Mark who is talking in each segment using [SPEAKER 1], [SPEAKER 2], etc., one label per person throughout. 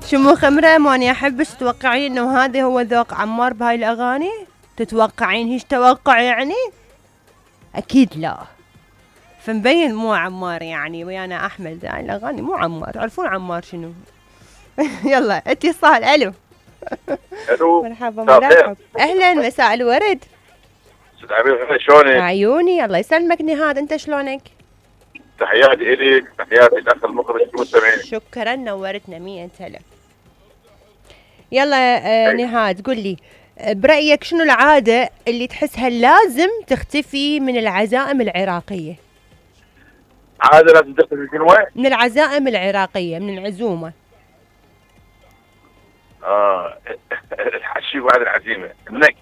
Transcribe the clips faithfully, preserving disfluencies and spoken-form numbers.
[SPEAKER 1] شمو خمرة ماني احبش تتوقعين انه هذا هو ذوق عمار بهاي الاغاني؟ تتوقعين هيش توقع يعني؟ اكيد لا. فمبين مو عمار يعني ويانا احمد، هاي الاغاني مو عمار، تعرفون عمار شنو. يلا اتصال. الو
[SPEAKER 2] الو
[SPEAKER 1] مرحبا مرحبا، اهلا مساء الورد.
[SPEAKER 2] استاذ عبير شلونك؟
[SPEAKER 1] عيوني الله يسلمك نهاد، انت شلونك؟
[SPEAKER 2] تحياتي الك، تحياتي الاخ المخرج المستمعين.
[SPEAKER 1] شكرا نورتنا مية هلا. يلا آه نهاد قل لي برأيك شنو العادة اللي تحسها لازم تختفي من العزائم العراقية؟
[SPEAKER 2] عادة لازم تختفي شنو؟
[SPEAKER 1] من العزائم العراقية، من العزومة.
[SPEAKER 2] اه الحشي بعد العزيمة، النك.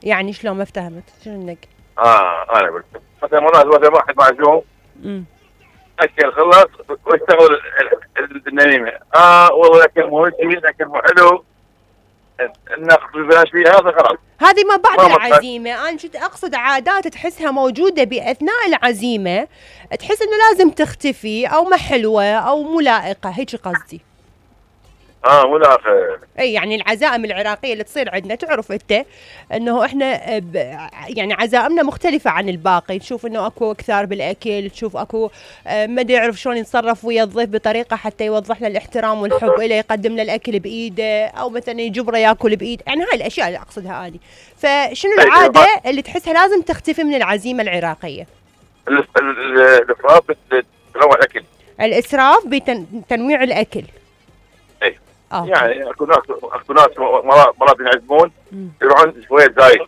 [SPEAKER 1] يعني شلون ما افتهمت، شنو النك؟
[SPEAKER 2] اه انا قلت مثلا مرات مثلا واحد معزوم
[SPEAKER 1] امم
[SPEAKER 2] اكل خلص واشتغل النميمة، اه والله الاكل مو هيك، الاكل مو حلو، ناخذ ببلاش فيها، هذا خلاص.
[SPEAKER 1] هذه ما بعد العزيمة، أنا شت أقصد عادات تحسها موجودة بأثناء العزيمة تحس إنه لازم تختفي أو ما حلوة أو مو لائقة، هيك قصدي.
[SPEAKER 2] اه مو لائقة.
[SPEAKER 1] اي يعني العزائم العراقية اللي تصير عندنا تعرف انت انه احنا ب... يعني عزائمنا مختلفة عن الباقي، تشوف انه اكو كثار بالاكل، تشوف اكو ما ادري يعرف شلون يتصرف ويا الضيف بطريقة حتى يوضح له الاحترام والحب له، يقدم له الاكل بايده او مثلا يجبره ياكل بايده، يعني هاي الاشياء اللي اقصدها اني. فشنو العادة اللي تحسها لازم تختفي من العزيمة العراقية؟
[SPEAKER 2] الاسراف بتنوع الاكل.
[SPEAKER 1] الاسراف بتنويع الاكل.
[SPEAKER 2] اي
[SPEAKER 1] آه.
[SPEAKER 2] يعني اكو ناس اكو ناس مرات مرات ينعزمون يروحون شويه زايد،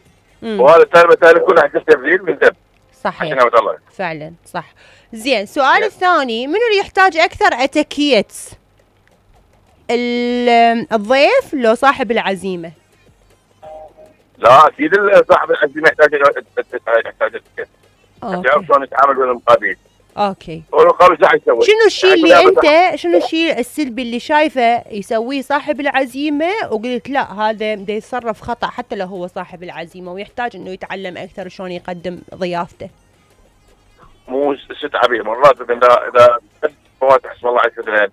[SPEAKER 2] وهذا الثاني مثلا كله حق تبذير من دم.
[SPEAKER 1] صحيح
[SPEAKER 2] الله.
[SPEAKER 1] فعلا صح. زين السؤال الثاني، منو اللي يحتاج اكثر اتيكيت؟ الضيف لو صاحب العزيمه؟
[SPEAKER 2] لا اكيد صاحب العزيمه يحتاج يحتاج اتيكيت عشان يعرف شلون يتعامل ويا المقابلين.
[SPEAKER 1] اوكي.
[SPEAKER 2] والمقابل ايش راح يسوي؟
[SPEAKER 1] شنو الشيء اللي انت شنو الشيء السلبي اللي شايفه يسويه صاحب العزيمه وقلت لا هذا بده يتصرف خطا حتى لو هو صاحب العزيمه ويحتاج انه يتعلم اكثر شلون يقدم ضيافته؟
[SPEAKER 2] مو ست عبير مرات اذا اذا بس فواتح اسم الله عز وجل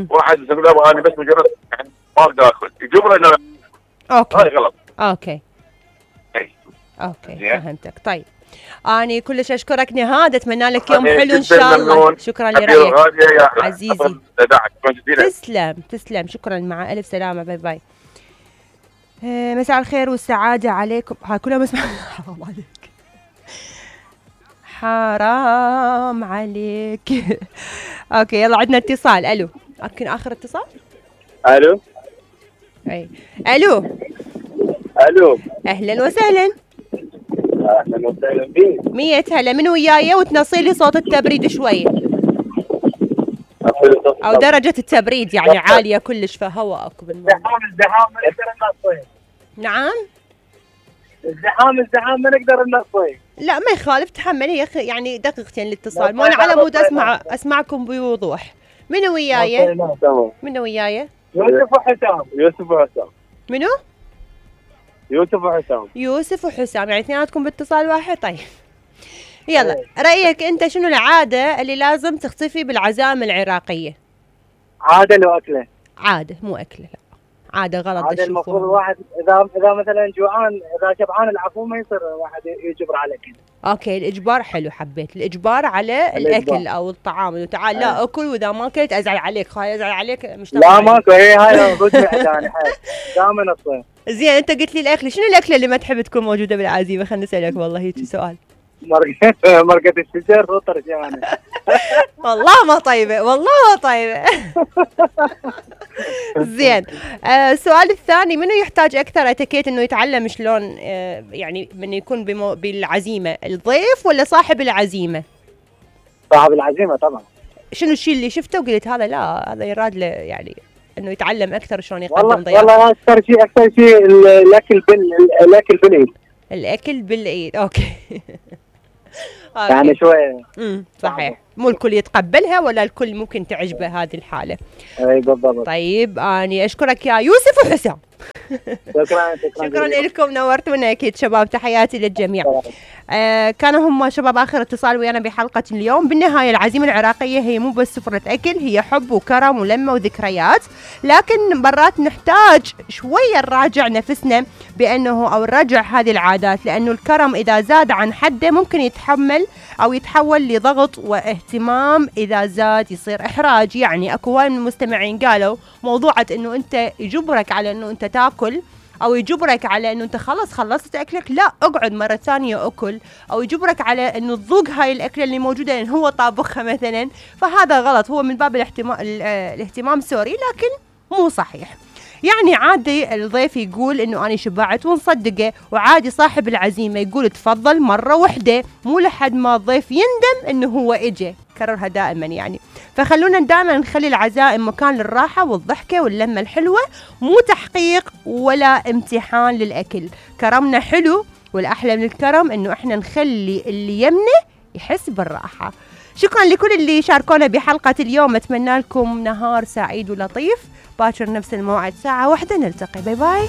[SPEAKER 2] واحد يقول له انا بس مجرد يعني ما اقدر اكل، يجبره انه
[SPEAKER 1] اوكي
[SPEAKER 2] هاي غلط.
[SPEAKER 1] اوكي
[SPEAKER 2] اي
[SPEAKER 1] اوكي فهمتك. طيب أنا كلش أشكرك نهاد، أتمنى لك يوم حلو إن شاء الله. شكرا لرأيك عزيزي. تسلم تسلم، شكرا، مع ألف سلامة، باي باي. آه مساء الخير والسعادة عليكم. هاي كلها مسمع. حرام عليك حرام عليك. أوكي يلا عندنا اتصال. ألو يمكن آخر اتصال.
[SPEAKER 2] ألو
[SPEAKER 1] أي ألو
[SPEAKER 2] ألو
[SPEAKER 1] أهلا وسهلا.
[SPEAKER 2] اهلا وسهلا بيك.
[SPEAKER 1] مية هلا، من وياي وتنصي لي صوت التبريد شوي او درجة التبريد يعني عالية كلش فهواء اكو بالموضوع.
[SPEAKER 2] الزحام ما نقدر ننصي.
[SPEAKER 1] نعم
[SPEAKER 2] الزحام الزحام ما نقدر ننصي.
[SPEAKER 1] لا ما يخالف تحملي يا اخي، يعني دقيقتين الاتصال، مو انا على مود اسمع اسمعكم بوضوح. من وياي؟ من وياي؟
[SPEAKER 2] يوسف وحسام. يوسف وحسام.
[SPEAKER 1] منو؟
[SPEAKER 2] يوسف وحسام.
[SPEAKER 1] يوسف وحسام، يعني اثنيناتكم باتصال واحد. طيب يلا رأيك انت شنو العادة اللي لازم تختفي بالعزائم العراقية؟
[SPEAKER 2] عادة لو أكلة.
[SPEAKER 1] عادة مو أكلة، لا عادة غلط.
[SPEAKER 2] عادة المفروض الواحد إذا إذا مثلا جوعان إذا شبعان العفو ما يصير واحد يجبر على الأكل.
[SPEAKER 1] اوكي الإجبار حلو، حبيت الإجبار على الأكل الإجبار. أو الطعام إنه تعال لا أكل وإذا ما أكلت أزعل عليك، خاي أزعل عليك مش
[SPEAKER 2] لا ماكو، هي هاي رجع ثاني حاجة دائما الصيف.
[SPEAKER 1] زين أنت قلت لي الأكل، شنو الأكلة اللي ما تحب تكون موجودة بالعزيمة؟ خليني أسألك والله هيك سؤال.
[SPEAKER 2] مرقة مرقة الشجر وطرجانة.
[SPEAKER 1] والله ما طيبة، والله ما طيبة. زين آه السؤال الثاني، منو يحتاج أكثر اتيكيت إنه يتعلم شلون آه يعني من يكون بمو بالعزيمة، الضيف ولا صاحب العزيمة؟
[SPEAKER 2] صاحب العزيمة طبعا.
[SPEAKER 1] شنو الشيء اللي شفته وقلت هذا لا هذا يراد له يعني إنه يتعلم أكثر شلون يقدم ضيافة؟
[SPEAKER 2] والله أكثر شيء أكثر شيء الأكل بال الأكل بالإيد.
[SPEAKER 1] الأكل بالإيد أوكي.
[SPEAKER 2] يعني شوية.
[SPEAKER 1] امم صحيح، مو الكل يتقبلها ولا الكل ممكن تعجبه هذه الحالة.
[SPEAKER 2] اي بالضبط.
[SPEAKER 1] طيب اني اشكرك يا يوسف وحسام.
[SPEAKER 3] شكرا
[SPEAKER 1] شكرا, شكرا لكم، نورتونا اكيد شباب، تحياتي للجميع. آه كانوا هم شباب اخر اتصال ويانا بحلقه اليوم. بالنهايه العزيمه العراقيه هي مو بس سفره اكل، هي حب وكرم ولمه وذكريات، لكن مرات نحتاج شويه نراجع نفسنا بانه او نراجع هذه العادات، لانه الكرم اذا زاد عن حده ممكن يتحمل او يتحول لضغط واهتمام، اذا زاد يصير احراج. يعني اكو هواي من المستمعين قالوا موضوعة انه انت يجبرك على انه انت تاكل، او يجبرك على انه انت خلص خلصت اكلك، لا اقعد مرة ثانية اكل، او يجبرك على انه تذوق هاي الاكلة اللي موجودة لان هو طابخها مثلا، فهذا غلط. هو من باب الاهتمام الاهتمام سوري، لكن مو صحيح. يعني عادي الضيف يقول انه انا شبعت ونصدقه، وعادي صاحب العزيمة يقول تفضل مرة واحدة، مو لحد ما الضيف يندم انه هو اجى. كررها دائما يعني. فخلونا دائما نخلي العزائم مكان للراحة والضحكة واللمة الحلوة، مو تحقيق ولا امتحان للأكل. كرمنا حلو، والأحلى من الكرم انه احنا نخلي اللي يمنه يحس بالراحة. شكرا لكل اللي شاركونا بحلقة اليوم، اتمنى لكم نهار سعيد ولطيف. باكر نفس الموعد ساعة واحدة نلتقي. باي باي.